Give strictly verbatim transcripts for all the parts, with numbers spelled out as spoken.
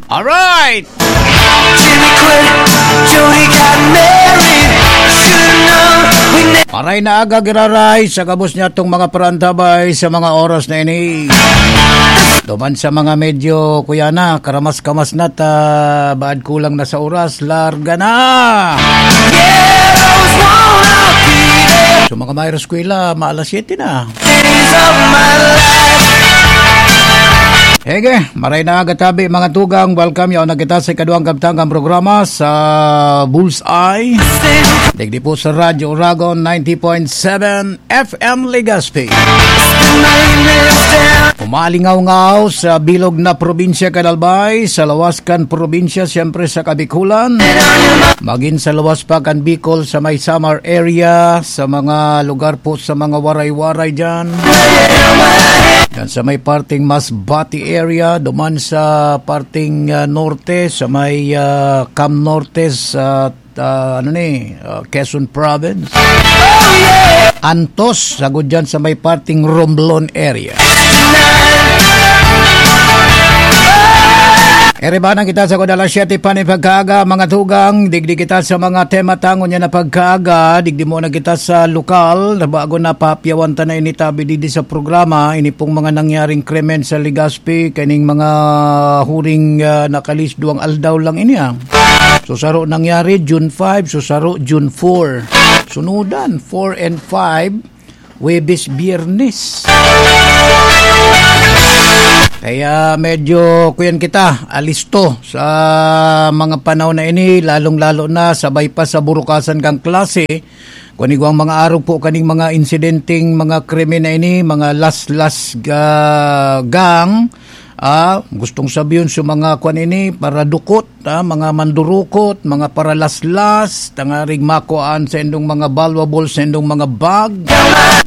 Alright! Jimmy quit, Jody got married. Should've known we ne- Maray na aga, giraray, sa gabos niya tong mga parantabay sa mga oras na ini. Duman sa mga medyo, kuya na, karamas-kamas na ta, baad kulang na sa oras, larga na! Ghettos wanna be there. So, mga mayroong eskwela, maalas siyete na. Days of my life. Ege, maray na aga tabi, mga tugang. Welcome, yaon na kita sa ikaduhang kabtangang programa sa Bullseye. Digdi po sa Radyo Uragon, ninety point seven F M Legazpi. Umalingaw-ngaw sa bilog na probinsya kan Albay, sa lawas kan probinsya, siyempre sa Kabikulan. Magin sa lawas pa kan Bicol, sa may Samar area, sa mga lugar po sa mga Waray-Waray dyan. Yan sa may parting Masbate area, duman sa parting, ah, norte, sa may, ah, Cam Norte, sa, ah, ano ni, ah, Quezon Province. Antos, sagod dyan sa may parting Romblon area. Erebanan kita sa kod alas siyete pa ni pagkaaga, mga tugang. Digdi kita sa mga tema tangon niya na pagkaaga. Digdi muna kita sa lokal. Na bago na papiyawan ta na ini tabi digdi sa programa. Ini pong mga nangyaring krimen sa Legazpi. Kaning mga huring, ah, nakalis duwang aldaw lang ini, ah. So, saro nangyari, June five. So, saro, June four. Sunudan, four and five. Huwebes, Biyernes. Kaya medyo, kuyan kita, alisto sa mga panahon na ini, lalong-lalo na sabay pa sa burukasan kang klase. Kung igwang mga arog po kaning mga insidenteng mga krimen na ini, mga las-las ga-, gang, ah, gustong sabihin sa mga kwan ini, para dukot, ah, mga mandurukot, mga paralaslas, tangarig makuhaan sa indong mga valuable, sa indong mga bag,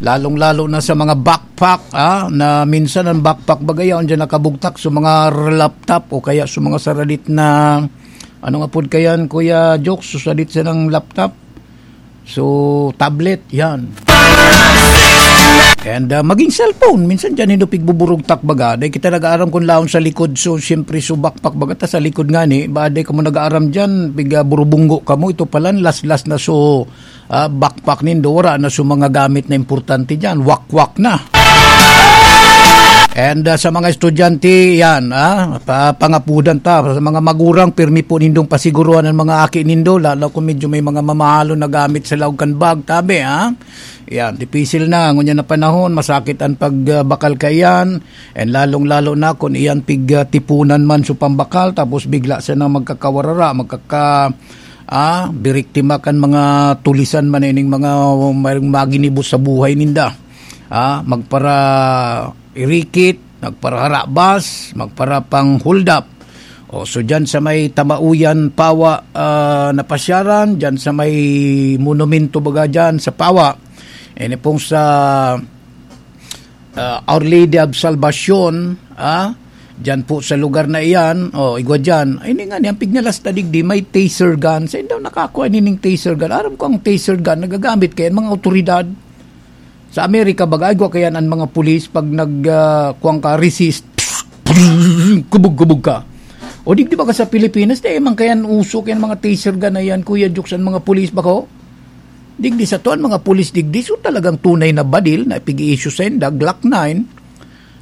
lalong-lalo na sa mga backpack, ah, na minsan ang backpack bagay, yaon dyan nakabugtak sa mga laptop o kaya sa mga saradit na, ano nga pod kayan, Kuya Jokes, sa sadit sa ng laptop? So, tablet, yan. And, ah, maging cellphone, minsan dyan, hindi pigbuburugtak baga. Dahil kita nag-aaram kung laon sa likod, so, siyempre, so, backpack baga, ta sa likod nga ni, ba, dahil ka mo nag-aaram dyan, piga burubunggo ka mo, ito pala, last-last na, so, ah, backpack nindo, wala na, so, mga gamit na importante dyan, wakwak na. And, ah, sa mga estudyante, yan, ah, pa-, pangapudan ta. Sa mga magurang, pirmi po nindong pasiguruhan ang mga aki nindo, lalo kung medyo may mga mamahalon na gamit sa laog kan bag, tabi, ha? Yan, dipisil na, ngunyan na panahon, masakit ang pagbakal kaiyan, and lalong-lalo na kung iyan pig, ah, tipunan man sa pambakal, tapos bigla siya na magkakawarara, magkaka-, ah, biriktima kan mga tulisan man ining mga mayroong maginibos sa buhay ninda. Ah, magpara-, irikit, magparaharabas, magparapang-hold up. O, so, dyan sa may Tamauyan, Pawa, ah, na pasyaran, dyan sa may monumento baga dyan sa Pawa. Ini pong sa, ah, Our Lady of Salvacion, ah, dyan po sa lugar na iyan, o, igwa dyan. Ay, ini nga, ni, ang pignalas na digdi, may taser gun. Sa indaw nakakuha nining taser gun. Aram ko ang taser gun, nagagamit kayan mga otoridad. Sa Amerika, baga, igwa kayan ang mga pulis pag nag, ah, kuwang ka, resist, kubog-kubog ka. O digdi baga sa Pilipinas, di man kayan uso kayan mga taser gun na yan, Kuya Jokes, ang mga pulis bako? Digdi sa to, ang mga pulis digdi, so talagang tunay na badil na pig-i-issue sa inda, Glock nine,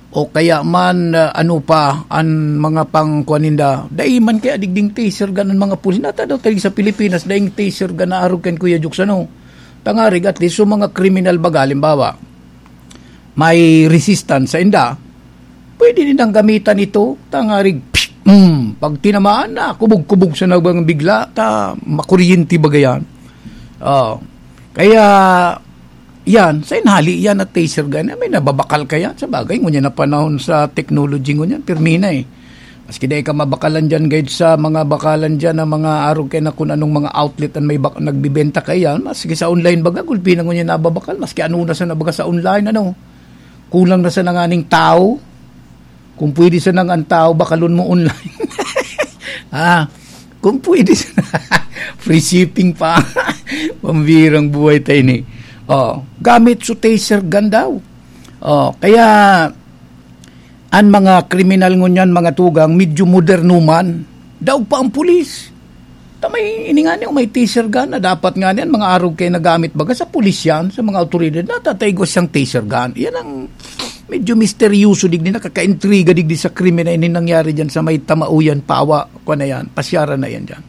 o kaya man, ah, ano pa, ang mga pangkuan ninda. Dai man kaya digding taser gun ang mga pulis. Nata daw tayo sa Pilipinas, daing taser gun na arog kan Kuya Jokes, ano? Tangarig, at least, so mga kriminal baga, halimbawa, may resistance sa inda, pwede nilang gamitan ito, tangarig, psh, mm, pag tinamaan na, kubog-kubog sa nabang bigla, ta, makuryente baga yan. Oh. Kaya, yan, sa inhali yan at taser gun, may nababakal ka yan. Sa bagay, ngunyan na panahon sa technology ngunyan, pirmi na eh. Maski dai ka mabakalan dyan, guide sa mga bakalan dyan, na mga arog kay na kung anong mga outlet ang may bak-, nagbibenta kay yan, maski sa online baga, gulpi na ngunyan nababakal, maski ano na sa nabaga sa online, ano. Kulang na sa nanganing tao. Kung pwede sa nang ang tao, bakalon mo online. Ah, kung pwede sa free shipping pa. Pambirang buhay tayo ni. Oh, gamit sa taser gun daw. Oh, kaya ang mga kriminal ngunyan, mga tugang, medyo moderno man. Daog pa ang pulis. Ta may, ini nga niyo, may taser gun na dapat nga niyan, mga arog kayo nagamit baga sa pulis yan, sa mga awtoridad, natatay ko siyang taser gun. Yan ang medyo misteryoso, digdi nakakaintriga, digdi sa krimen na ini nangyari dyan sa may Tamauyan, Pawa, kwa na yan, pasyaran na yan dyan.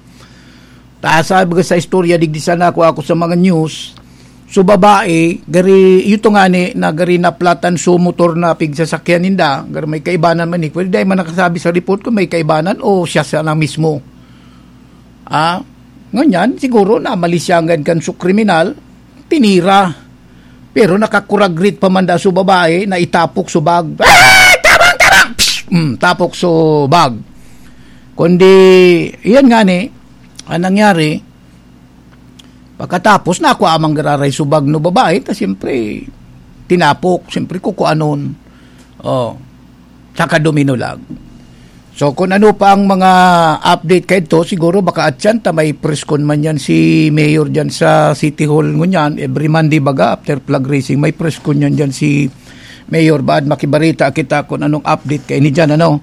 Ta sabi ko sa istorya, digdi sana ako, ako sa mga news, so babae, gari, ito nga ni, na gari naplatan so motor na pigsasakyan ninda, gari may kaibanan man ni, pwede dahil man nakasabi sa report kung may kaibanan o siya sana mismo. Ah, ngunyan, siguro na malisyangan kan su kriminal, tinira. Pero nakakuragrit pa man da su babae na itapok su bag. Ah! Tabang! Tabang! Psh! Mm, tapok su bag. Kundi, iyan nga ni, ang nangyari, pagkatapos na ako amang gararay su bag no babae, ta siyempre, tinapok, siyempre, kukuanon. Oh, saka duminulag. So, kung ano pa ang mga update kaidto, siguro baka atyan ta may preskon man yan si Mayor dyan sa City Hall ngunyan. Every Monday baga, after flag raising, may preskon yan dyan si Mayor. Baad makibarita kita kung anong update kaini dyan, ano?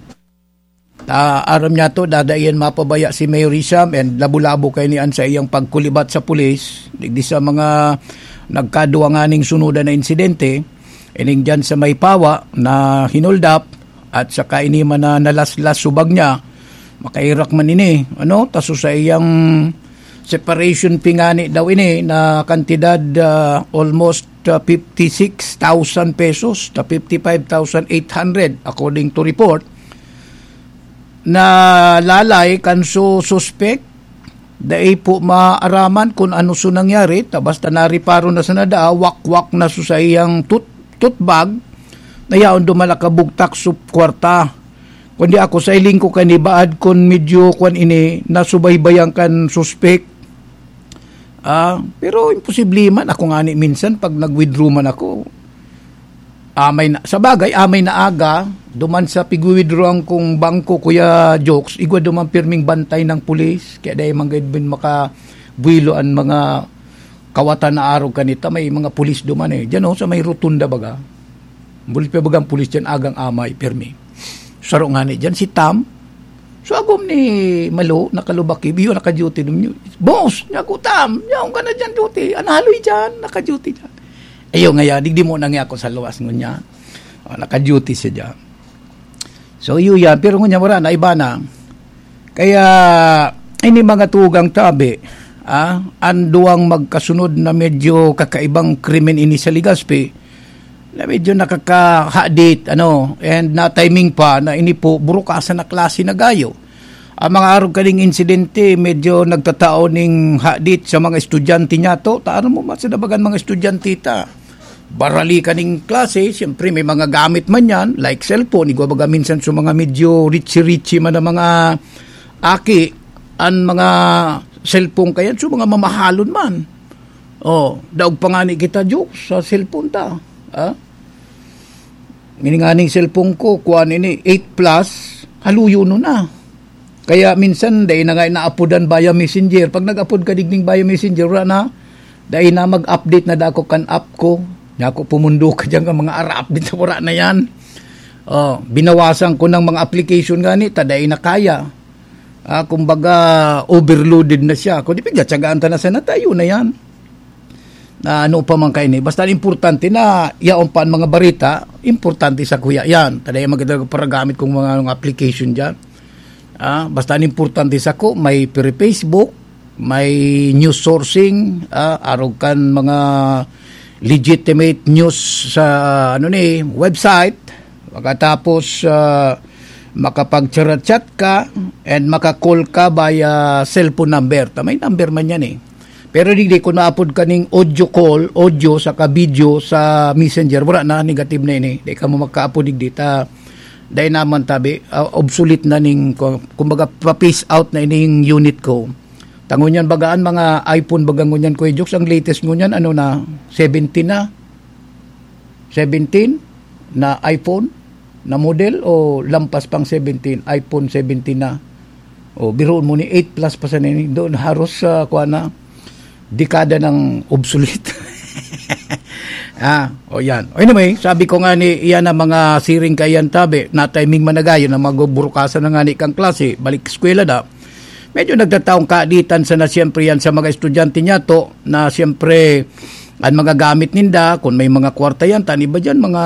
Ta, aram niya to, dada iyan mapabaya si Mayor Hisham and labo-labo kayo niyan sa iyang pagkulibat sa pulis. Digdi sa mga nagkaduwa nga ning sunudan na insidente, ining dyan sa may Pawa na hinuldap, at saka ini man na nalaslas subag niya, makairak man ini, ano, taso sa iyang separation fee ngani daw ini na kantidad, ah, almost, ah, fifty-six thousand pesos, ta fifty-five thousand eight hundred, according to report, na lalay kan su suspek. Dai po maaraman kun ano su nangyari, ta basta nariparo na sana daa, wakwak na su sa iyang tut-, tutbag, na yaon duman nakabugtak su kwarta. Kundi ako, sa hiling ko kanibaad kun medyo kwan ini, nasubaybayan kan suspek. Ah, pero imposible man. Ako ngani minsan, pag nag-withdraw man ako, amay na, sa bagay, amay na aga, duman sa pigwi-withdrawan kong bangko, Kuya Jokes, igwa duman pirming bantay ng pulis. Kaya dahil man gayud bin makabuwelo an mga kawatan na arog kanita, may mga pulis duman eh. Diyan oh, sa may rotunda baga. Bulit pa bagang pulis diyan, agang amay, pirmi. Saro ngani diyan, si Tam. So, agom ni Malo, nakalubak, iyo, naka-duty dun yun. "Boss!" niya ako, "Tam, yaon ka na dyan, duty. Ano haloy dyan? Naka-duty dyan." Ayo, ngaya, digdi mo na nga ako sa luwas, ngunya. Oh, naka-duty siya dyan. So, iyo yan. Pero ngunya, wala na, iba na. Kaya, ini mga tugang tabi, ah, an duwang magkasunod na medyo kakaibang krimen ini sa Legazpi, na medyo nakakahadit, ano, and na-timing pa na ini po, burukasan na klase na gayo. Ang mga arog kaning insidente, medyo nagtatao ning hadit sa mga estudyante niya to. Ta, ano mo, masinabagan mga estudyante ta. Barali kaning klase, siyempre may mga gamit man yan, like cellphone. Igwa baga minsan sa mga medyo richy-richy man ang mga aki, ang mga cellphone kayan, so mga mamahalon man. Oh, daog pa nga ni kita, Jokes, sa cellphone ta. Ah? Ini nga ning cellphone ko, kuan ini, eight plus, haluyo no na. Kaya minsan, dai na nga inaapodan via messenger. Pag nag-apod ka digning via messenger, wala na. Dai na mag-update na dako kan app ko. Nya ako pumundo ka dyan ka mga ara-update sa wala na yan. Oh, binawasan ko ng mga application gani, ta dai na kaya. Ah, kumbaga, overloaded na siya. Kung di pigtatsagaan ta na sana tayo na yan. Na ano pa man kaini. Basta importante na yaon pa ang mga barita, importante sa kuya yan. Tadaya maganda paragamit kong mga, mga application dyan. Ah, basta ang importante sa ko, may pre-, Facebook, may news sourcing, ah, arog kan mga legitimate news sa, ano ni, website. Pagkatapos, ah, makapag-chat-chat ka and maka-call ka via cellphone number. Ta may number man yan eh. Pero digdi, kung naapod ka ning audio call, audio saka video sa messenger, wala na, negative na ini. Di ka mo magkaapod digdi. Ta, dai naman tabi, ah, obsolete na ning, ku-, kumbaga, pa-phase out na ining unit ko. Ta ngunyan bagaan mga iPhone baga ngunyan, Kuya Jokes, ang latest ngunyan, ano na, seventeen na. Seventeen na iPhone na model o lampas pang seventeen, iPhone seventeen na. O, biruon mo ni eight plus pa sa nini. Doon haros sa, kuha na, dekada ng obsolete. Ah, o yan. O anyway, sabi ko nga ni, iyan ang mga siring kaiyan tabi, na timing managayon na magbuburukasan na nga ni kang klase, balik eskwela na. Medyo nagtataong kaaditan sana siyempre yan sa mga estudyante niya to, na siyempre, ang mga gamit ninda, kung may mga kwarta yan, tan iba dyan, mga,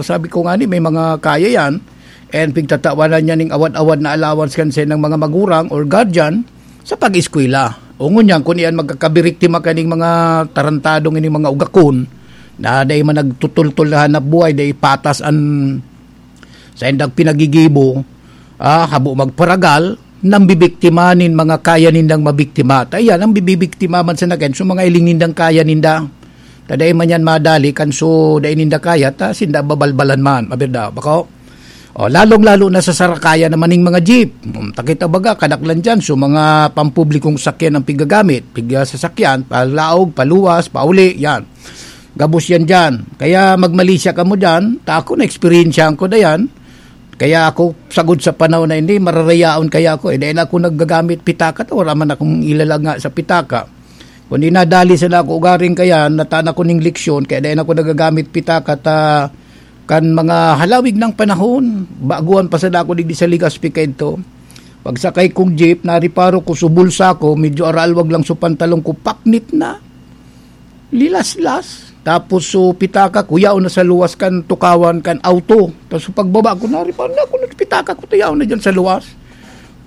sabi ko nga ni, may mga kaya yan, and pigtatawanan niya ning awad-awad na allowance kan sa ng mga magurang or guardian sa pag-eskwela. O ngunyan, kung iyan magkakabiriktima kaning mga tarantadong ining mga ugakon, na dai man nagtutultol na hanap buhay, dai patas an saindang pinagigibo, ah, habo magparagal, nambibiktima nin mga kaya nindang mabiktima. Ta iyan, ang bibibiktima man sa nagen, so mga iling nindang kaya ninda. Ta dai man yan madali, kan so dai ninda kaya, ta sinda babalbalan man, mabirda, bako? O, lalong-lalo na sa sarakaya naman ning mga jeep. Hmm, takita baga, kadaklan dyan, so mga pampublikong sakyan ang pigagamit, piga sasakyan, palaog, paluwas, pauli, yan. Gabos yan dyan. Kaya magmali siya kamo dyan, ta ako na-eksperyensyahan ko na yan. Kaya ako, sagod sa panahon na hindi, mararayaon kaya ako. Eh, dahil ako naggagamit pitaka, ta wala man akong ilalagay sa pitaka. Kundi nadali sila ako ugaring kaya, natan ako ning leksyon, kaya dahil ako nagagamit pitaka, ta kan mga halawig ng panahon, baguhan pa sila ako digdi sa Legazpi kaidto. Pagsakay kong jeep, nariparo ko, so bulsa ko, medyo aralwag lang so pantalon ko, paknit na. Lilaslas. Tapos so pitaka ko, yaon na sa luwas kan tukawan kan auto. Tapos so pagbaba ko, nariparo na ako, pitaka ko, ta yaon na dyan sa luwas.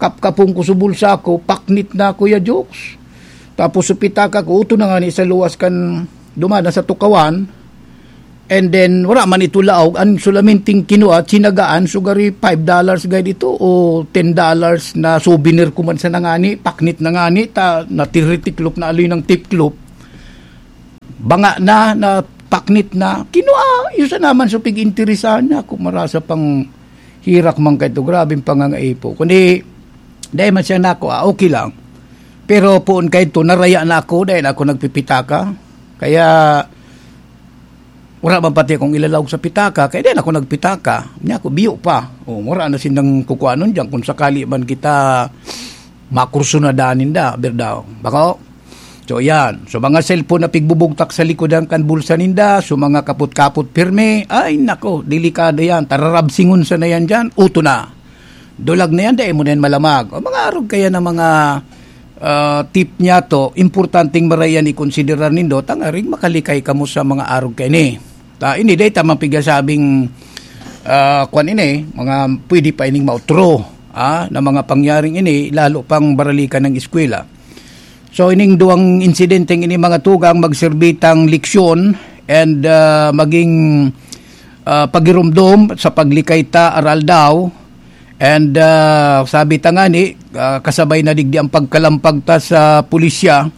Kapkapon ko so bulsa ko, paknit na, Kuya Jokes. Tapos so pitaka ko, uto na nga ni sa luwas kan duman na sa tukawan. And then, wala man ito laog. Ang sulaminting kinua, tsinagaan, sugari five dollars gay dito o ten dollars na souvenir ko man sa nangani, paknit na ngani, ta natiritiklop na aloy ng tiklop. Banga na, na paknit na. Kinua, yun sa naman sa pig-interesahan niya. Kung marasa pang hirak man kaito, grabing pangangaipo. Kundi, dahil man siya nako, ah, okay lang. Pero poon kaito, naraya na ako, dahil ako nagpipitaka. Kaya, wala man pati akong ilalaog sa pitaka, kaya di na ako nagpitaka. Niya ako, biyo pa. O, wala na sindang kukuanon dyan kung sakali man kita makursunadahan ninda, birdaw. Bako? So, yan. So, mga cellphone na pigbubugtak sa likodan kan bulsa ninda, so, mga kapot-kapot pirmi, ay, nako, delikado yan. Tararabsingon sa na yan dyan, uto na. Dulag na yan, dai mo na yan malamag. O, mga arog kaya na mga, ah, tip niya to, importanteng marayan ikonsiderar nindo, tangaring makalikay kamo sa mga arog kaya ni. Ta, ini, dai tamang pigasabing, ah, kwan ini, mga pwede pa ining mautro, ah, na mga pangyaring ini, lalo pang baralikan ng eskwela. So, ining duwang insidenteng ini, mga tugang, magserbi tang leksyon and, ah, maging, ah, pagirumdom sa paglikay ta, aral daw. And, ah, sabi ta ngani, ah, kasabay na digdi ang pagkalampag ta sa pulisya,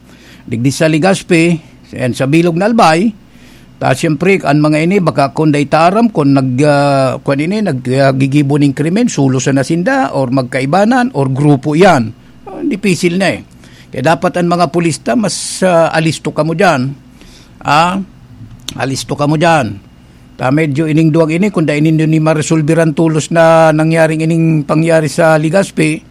digdi sa Legazpi, and sa Bilog na Albay. Ta, siyempre, an mga ini, baka kun dai ta aram kun nag, ah, kun ini, nag, ah, gigibo ning krimen, sulos na sinda, or magkaibanan, or grupo iyan. Ah, dipisil na eh. Kaya dapat an mga pulis ta, mas, ah, alisto kamo diyan. Ah, alisto kamo diyan. Ta, medyo ining duwang ini, kun dai nindo ni maresolbiran tolos na nangyaring ining pangyari sa Legazpi,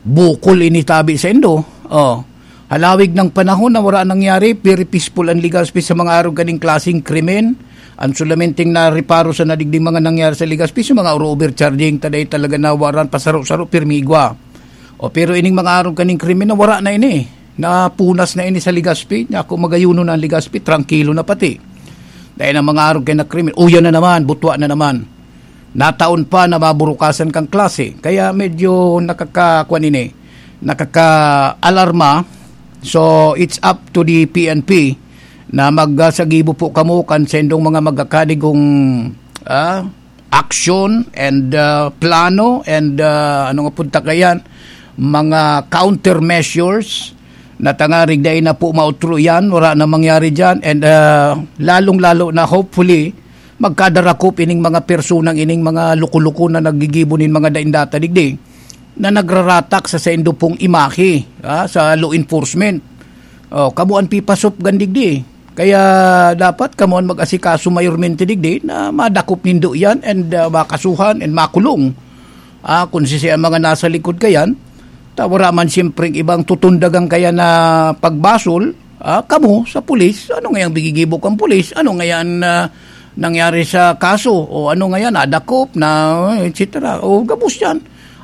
bukol ini tabi saindo. Oh. Halawig ng panahon na wala nangyari, very peaceful ang Legazpi sa mga arog kaning klaseng krimen. Ang sulamenteng nariparo sa nadigding mga nangyari sa Legazpi, sa mga oro overcharging, taday talaga na waran pasaro-saro, pirmi igwa. O, pero ining mga arog kaning krimen na wala na ini. Napunas na ini sa Legazpi. Nya, kung magayuno na ang Legazpi, trangkilo na pati. Dahil ang mga arog kay na krimen, uyan na naman, butwa na naman. Nataon pa na maburukasan kang klase. Kaya medyo nakaka-, kwan ini, nakaka-alarma. So, it's up to the P N P na magsagibo po kamo kan sendong mga magkakadigong, ah, action and, ah, plano and, ah, ano nga punta kayan, mga countermeasures na tangarig dai na po mautro yan, wala na mangyari dyan. And, ah, lalong-lalo na, hopefully, magkadarakop ining mga personang ining mga luko-luko na naggigibo nin mga daing data digdi na nagraratak sa saindo pong imahe, ah, sa law enforcement. Oh, kamo an pipasop gandigdi. Kaya dapat kamo an mag-asikaso mayormente digdi na madakop nindo iyan and, ah, makasuhan and makulong. Ah, kung sisi ang mga nasa likod kayan, ta wala man siyempre ibang tutundagan kaya na pagbasol, ah, kamo sa pulis, ano ngayang bigigibo kang pulis? Ano ngayan, ah, nangyari sa kaso? O ano ngayan, nadakop na, et cetera. O gabos yan.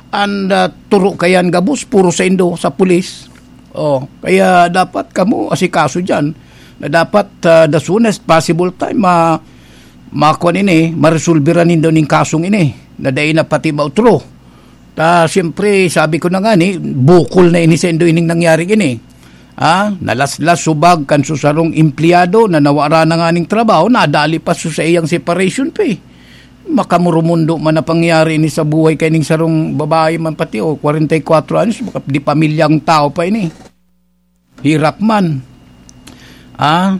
An, ah, turo kayan gabos, puro saindo sa pulis. Oh, kaya dapat kamo asikaso diyan na dapat, ah, the soonest possible time ma-, makuan ini, maresolbera nindo ning kasong ini na dai na pati mautro. Ta, siyempre, sabi ko na nga ni, bukol na ini saindo ining nangyari ini. Ah, nalaslas subag kan susarong empleyado na nawara na nga ning trabaho, nadali pa su sa iyang separation pay. Makamurumundo man na pangyayari ini sa buhay kaining sarong babae man pati, o, kwarenta y kwatro anyos, maka-, di pamilyang tao pa ini. Hirap man. Ah,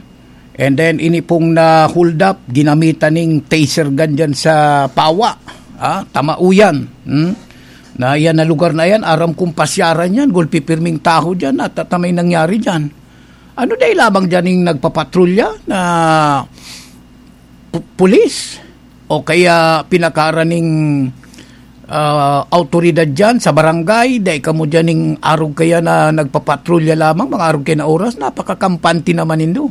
and then ini pong na-hold up, ginamitan ning taser gun dyan sa Pawa. Ah, Tamauyan. Hmm? Na yan na lugar na yan, aram kong pasyaran yan, gulpi pirming taho dyan, at, at may nangyari dyan. Ano dahil lamang dyan yung nagpapatrolya na pu-, pulis o kaya pinakaraning, ah, awtoridad dyan sa barangay, dai kamo dyan ning arog kaya na nagpapatrolya lamang, mga arog kaya na oras, napakakampante naman nindo.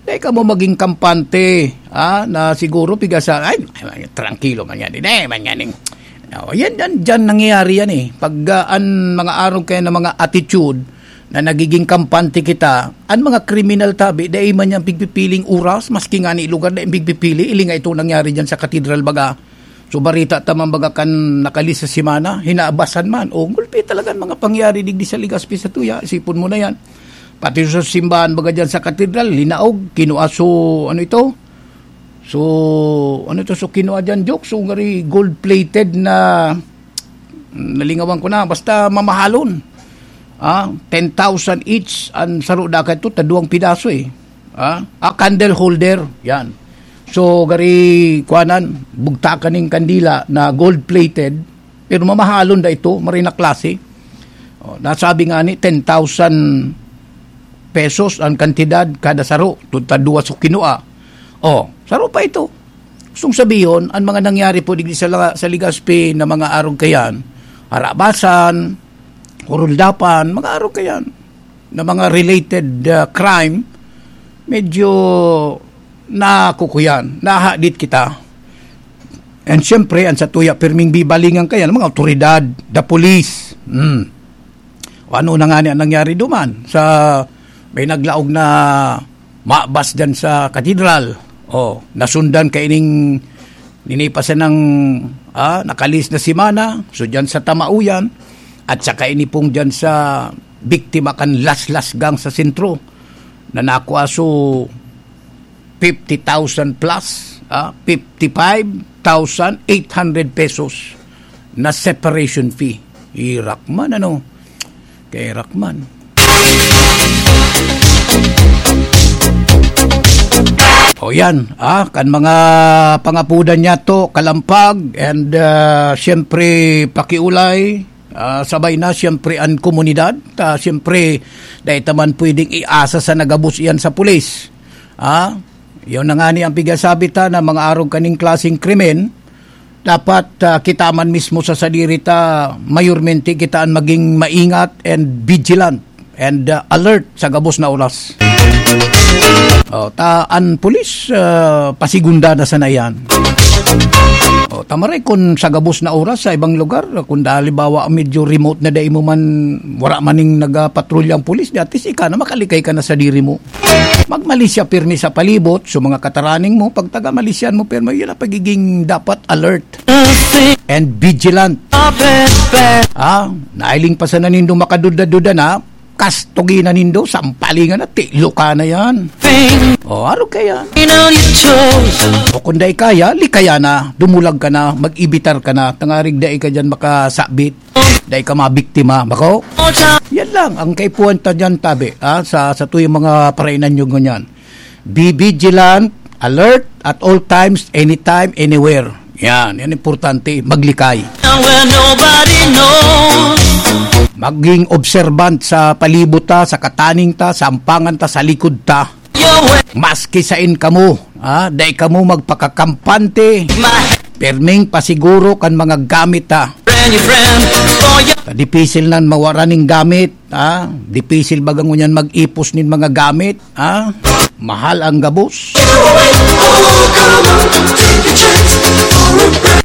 Dai kamo maging kampante, ah, na siguro piga sa, "Ay, ay, trangkilo man yan, hindi man yan, eh." No, yan, yan, dyan nangyayari yan, eh. Pag, ah, an mga arog kaya na mga attitude, na nagiging kampante kita, an mga kriminal tabi, dai man yan pigpipiling oras, maski nga ni lugar, dai pigpipili, ili nga itong nangyari dyan sa katedral baga. So, barita ta man baga kan nakalis sa semana, hinaabasan man. O, gulpi talaga an mga pangyari digdi sa Legazpi satuya, isipon mo na yan. Pati sa simbahan baga dyan sa katedral, linaog, kinua so, ano ito? So, ano ito? So, kinua dyan, joke. So, ngari gold-plated na, nalingawan ko na, basta mamahalon. Ah, ten thousand each an saro, dakay to, ta duwang pidaso eh. Ah, ah, candle holder, yan. So, gari, kuanan, bugtakan ning kandila na gold-plated, pero mamahalon da ito, maray na klase. Oh, nasabi nga ni, ten thousand pesos an kantidad kada saro, tud ta duwa so kinua. Oh, saro pa ito. Gustong sabihon, an mga nangyari po digdi sa la-, sa Legazpi na mga arog kayan, harabasan, huruldapan, mga arog kayan, na mga related, ah, crime, medyo nakukuyan, nahadit kita. And siyempre, an satuya pirming bibalingan kayan, mga awtoridad, the police. Hmm. O ano na nga ni ang nangyari duman sa may naglaog na mabas dyan sa katedral. O, nasundan kaining ninipasan ng, ah, nakalis na semana. So, dyan sa Tamauyan, at saka ini pong dyan sa biktima kan Laslas Gang sa sentro, na nakuha so fifty thousand plus, ah, fifty-five thousand eight hundred pesos na separation fee. Irak man, ano? Kairak man. O yan, ah, kan mga pangapudan niya to, kalampag, and, ah, siyempre, pakiulay, ah, sabay na, siyempre, ang komunidad, ah, siyempre, dahil taman pwedeng iasa sa nagabos iyan sa pulis. Ah, yun na nga ni ang pigasabi ta na mga arog kaning klaseng krimen, dapat, ah, kita man mismo sa sadiri ta, mayormente kita an maging maingat and vigilant and, ah, alert sa gabos na oras. Oh, ta, an pulis, ah, pasigunda na sana yan. Oh, tamaray kun sa gabos na oras sa ibang lugar, kun halimbawa medyo remote na dai mo man, wala man ning nagapatrolya ang pulis, di at least ika na makalikay ka na sa diri mo. Magmalisya pirmi sa palibot, so mga kataraning mo, pagtaga malisyan mo pirmi, yun ang pagiging dapat alert and vigilant. Ah, nailing pa sana nindo makaduda-duda na, kastugi na nindo, sampalingan na, tiloka na yan. O, aro kaya? O kung dai kaya, likaya na, dumulag ka na, mag-ibitar ka na, tangarig dai ka dyan makasabit. Dai ka mabiktima, bako? Yan lang ang kaipuhan ta dyan, tabi, ah, sa, sa tuyong mga parainanyog ngunyan. Be vigilant, alert at all times, anytime, anywhere. Yan, yan importante, maglikay. Where nobody knows. Maging observant sa palibot ta, sa kataning ta, sa ampangan ta, sa likod ta. Maski sain kamo, ah, dai kamo magpakakampante. Pirming pasiguro kan mga gamit ta. Friend, your friend, for your Ta dipisil nan mawara ning gamit, ah. Dipisil baga ngunyan mag-ipos nin mga gamit, ah. Mahal ang gabos.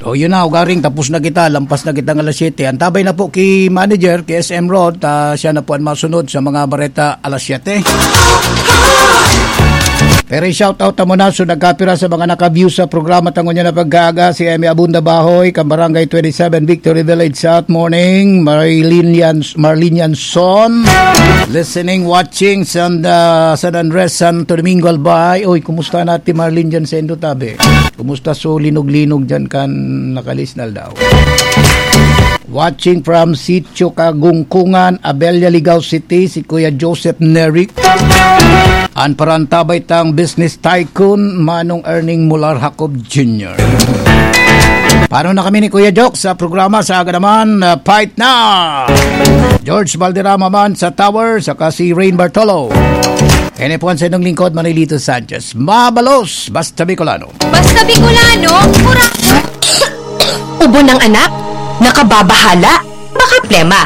O, yun na, ugaring tapos na kita, lampas na kita ng alas siyete. Antabay na po ki manager, ki S M Rod, ah, siya na po ang masunod sa mga bareta alas siyete. Pero i-shoutout ta muna, so nagkapira sa mga naka-view sa programa tangon niya na pagkaaga, si Emmy Abunda Bahoy, kan Barangay twenty-seven, Victory Village, South Morning, Marilyn Yan-, Marlene Yanson, listening, watching, San, ah, San Andres, Santo Domingo, Albay. Oy, kumusta natin Marlene dyan sa Indo Tabi? Kumusta so linog-linog dyan kan nakalis na aldaw? Watching from Sitio Kagungkungan, Abella, Ligao City, si Kuya Joseph Neric. An parantabay tang business tycoon, Manong Erning Mular Jacob Junior. Paano na kami ni Kuya Joke sa programa sa aga naman? Uh, fight na! George Valderrama man sa Tower, saka si Rain Bartolo. Ini po ang sa inyong lingkod, Manilito Sanchez. Mabalos, basta Bicolano. Basta Bicolano, pura... Ubo ng anak, nakababahala, baka plema.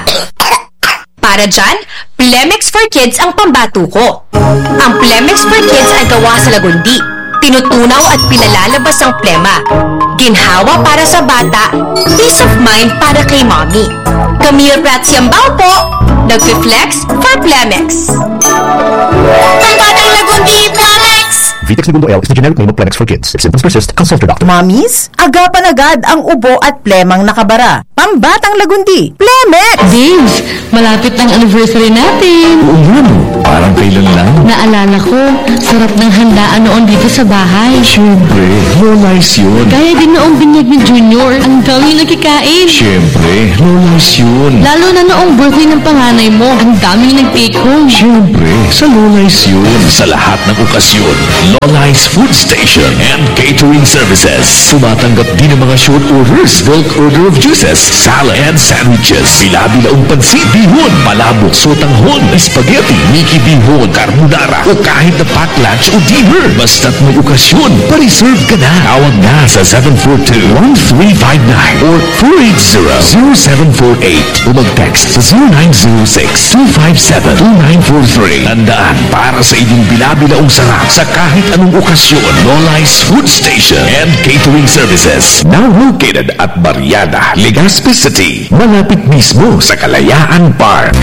Para dyan, Plemex for Kids ang pambato ko. Ang Plemex for Kids ay gawa sa lagundi. Tinutunaw at pinalalabas ang plema. Ginhawa para sa bata, peace of mind para kay mommy. Camille Prats Yambao po, nagfi-flex for Plemex. Pambatang lagundi, Plemex! Vitex Negundo L is the generic name of Plemex for Kids. If symptoms persist, consult your doctor. Mommies, agapan agad ang ubo at plemang nakabara. Pambatang lagundi, Plemex! Babes, malapit na ang anniversary natin. Oo nga, no? Parang kailan lang. Naalala ko, sarap ng handaan noon dito sa bahay. Siyempre, low-life yun. Kaya din noong binyag ni Junior, ang daming nakikain. Siyempre, low-life yun. Lalo na noong birthday ng panganay mo, ang daming nag-take home. Siyempre, sa low-life yun. Sa lahat ng okasyon, Lola's Food Station and Catering Services. Tumatanggap din ng mga short orders, bulk order of juices, salad and sandwiches. Bila-bilaong pansit, bihon, palabok, sotanghon, spaghetti, Mickey bihon, carbonara, o kahit na pack lunch o dinner. Basta't may okasyon, pa-reserve ka na. Tawag na sa seven four two, one three five nine or four eight zero, zero seven four eight o mag-text sa zero nine zero six, two five seven, two nine four three. Tandaan, para sa inyong bila-bilaong sarap sa kahit anong okasyon, Lola's Food Station and Catering Services. Now located at Barriada, Legazpi City, malapit mismo sa Kalayaan Park.